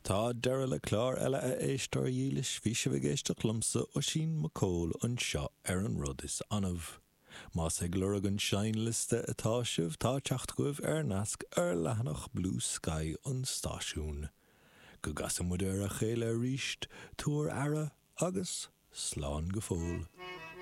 Tá deireadh le clár eile a éisteoir dhílis, bhí sibh ag éisteacht liomsa, Oisín Mac Cóil, anseo ar An Rud Is Annamh. Más ag lorg an seinnliosta atá sibh, tá teacht agaibh ar nasc ar leathanach Bluesky an stáisiúin. Go gcasa muid ar a chéile arís, tabhair aire agus slán go fóill.